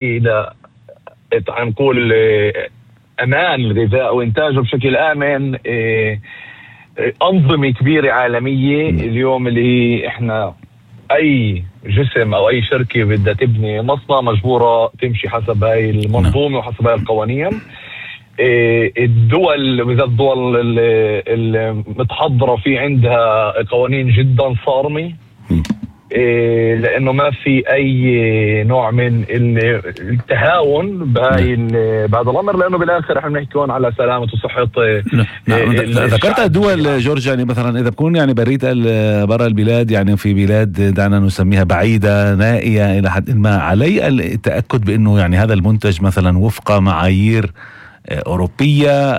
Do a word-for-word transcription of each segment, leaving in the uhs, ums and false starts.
الى تعال نقول امان الغذاء وانتاجه بشكل امن انظمه كبيره عالميه اليوم اللي هي احنا اي جسم او اي شركه بدها تبني مصنع مجبوره تمشي حسب هاي المنظومه وحسب هاي القوانين. الدول بالذات الدول المتحضره في عندها قوانين جدا صارمه إيه لانه ما في اي نوع من التهاون بهاي بهذا الامر، لانه بالاخر احنا بنحكي هون على سلامه وصحه. نعم ذكرت الدول جورج، يعني مثلا اذا بكون يعني بريت برا البلاد، يعني في بلاد دعنا نسميها بعيده نائيه الى حد ما، علي التاكد بانه يعني هذا المنتج مثلا وفق معايير اوروبيه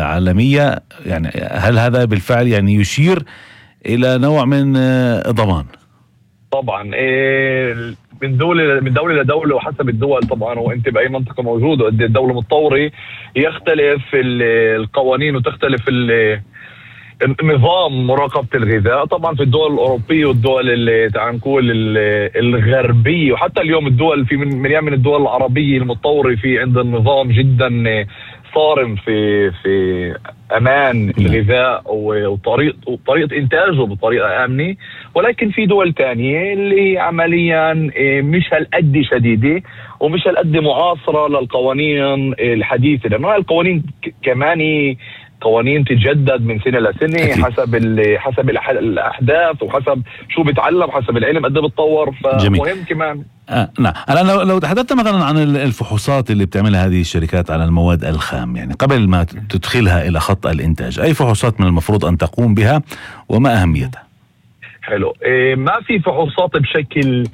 عالميه، يعني هل هذا بالفعل يعني يشير الى نوع من ضمان؟ طبعا إيه من دولة من دولة لدولة وحسب الدول طبعا، وانت بأي منطقة موجود وقد الدولة متطورة يختلف القوانين وتختلف النظام مراقبة الغذاء. طبعا في الدول الأوروبية والدول اللي تعال نقول الغربية وحتى اليوم الدول في من من الدول العربية المتطورة في عندها نظام جدا صارم في في امان الغذاء وطريقه وطريقه انتاجه بطريقه امنه. ولكن في دول تانية اللي عمليا مش هالقد شديده ومش هالقد معاصره للقوانين الحديثه، لانه القوانين كمان قوانين تتجدد من سنه لسنه حسب حسب الاحداث وحسب شو بتعلم، حسب العلم قد بتطور. فمهم كمان آه نعم. الآن لو, لو تحدثت مثلا عن الفحوصات اللي بتعملها هذه الشركات على المواد الخام، يعني قبل ما تدخلها إلى خط الإنتاج، أي فحوصات من المفروض أن تقوم بها وما أهميتها؟ حلو. إيه ما في فحوصات بشكل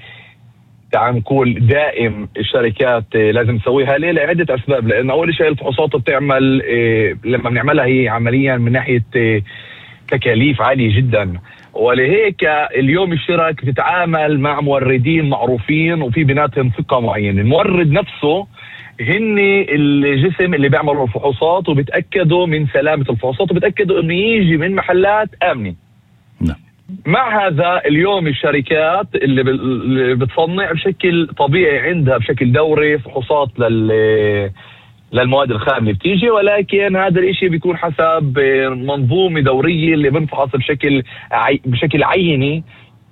تعال نقول دائم الشركات لازم تسويها. ليه؟ لعدة أسباب. لأن أول شيء الفحوصات بتعمل إيه لما بنعملها هي عمليا من ناحية إيه تكاليف عالية جدا، ولهيك اليوم الشركة بتتعامل مع موردين معروفين وفي بيناتهم ثقة معينة. المورد نفسه هن الجسم اللي بيعملوا الفحوصات وبتأكدوا من سلامة الفحوصات وبتأكدوا انه يجي من محلات آمنة. نعم. مع هذا اليوم الشركات اللي بتصنع بشكل طبيعي عندها بشكل دوري فحوصات لل للمواد الخام اللي بتيجي، ولكن هذا الاشي بيكون حسب منظومة دورية اللي بنفحص بشكل عي... بشكل عيني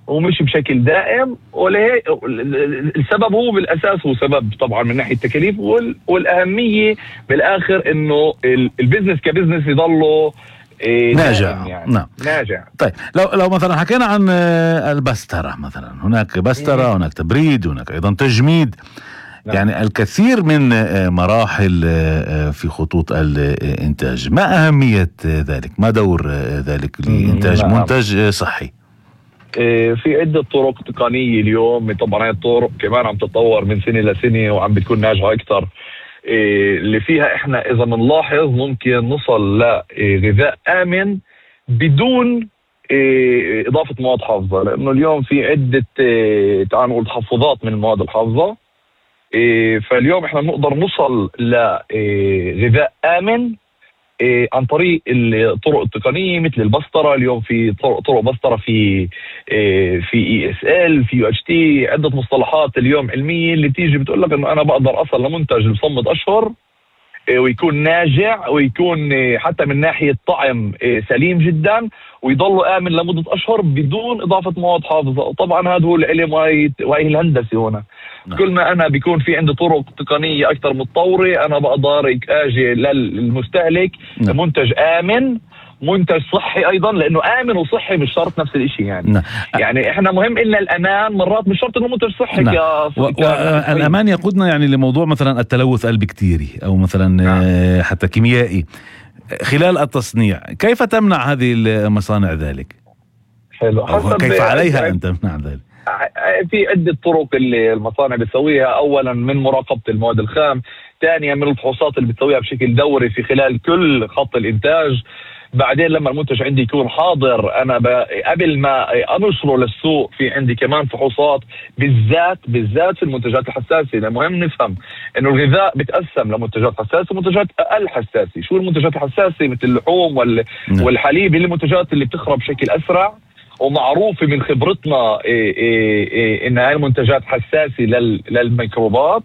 ومش بشكل دائم. ولهي السبب هو بالاساس هو سبب طبعا من ناحية التكاليف وال... والاهمية بالاخر انه البزنس كبزنس يضله إيه ناجع. يعني. نعم ناجع. طيب لو لو مثلا حكينا عن البسترة مثلا، هناك بسترة، هناك تبريد، هناك ايضا تجميد. نعم. يعني الكثير من مراحل في خطوط الإنتاج، ما أهمية ذلك؟ ما دور ذلك لإنتاج نعم. منتج صحي؟ في عدة طرق تقنية اليوم. طبعا هاي الطرق كمان عم تتطور من سنة لسنة وعم بتكون ناجحة أكثر، اللي فيها إحنا إذا بنلاحظ ممكن نصل لغذاء آمن بدون إضافة مواد حافظة. لأنه اليوم في عدة تعال نقول تحفظات من المواد الحافظة، إيه فاليوم احنا بنقدر نوصل لغذاء آمن إيه عن طريق الطرق التقنية مثل البسطرة. اليوم في طرق, طرق بسطرة في إيه في اي اس ال، في يو اتش تي، عدة مصطلحات اليوم علمية اللي بتيجي بتقول لك انه انا بقدر اصل لمنتج بصمد اشهر إيه ويكون ناجع ويكون إيه حتى من ناحية طعم إيه سليم جدا ويضل آمن لمدة أشهر بدون إضافة مواد حافظة. وطبعا هذا هو العلم وهي الهندسة هنا. نعم. كل ما أنا بيكون في عندي طرق تقنية أكثر متطورة أنا بقدر أجي للمستهلك نعم. منتج آمن، منتج صحي أيضا، لأنه آمن وصحي مش شرط نفس الشيء يعني. نعم. يعني إحنا مهم إلنا الأمان، مرات مش شرط إنه منتج صحي. نعم. ك... و... ك... الأمان يقودنا يعني لموضوع مثلا التلوث البكتيري أو مثلا نعم. حتى كيميائي خلال التصنيع. كيف تمنع هذه المصانع ذلك؟ حلو. أو كيف عليها أن تمنع ذلك؟ في عدة طرق اللي المصانع بتسويها. أولا من مراقبة المواد الخام، ثانيا من الفحوصات اللي بتسويها بشكل دوري في خلال كل خط الإنتاج. بعدين لما المنتج عندي يكون حاضر أنا قبل ما أنشره للسوق في عندي كمان فحوصات بالذات بالذات في المنتجات الحساسة. مهم نفهم إنه الغذاء بتقسم لمنتجات حساسة ومنتجات أقل حساسة. شو المنتجات الحساسة؟ مثل اللحوم وال... والحليب، اللي المنتجات اللي بتخرب بشكل أسرع ومعروفة من خبرتنا إيه إيه إيه إن هاي المنتجات حساسة للميكروبات.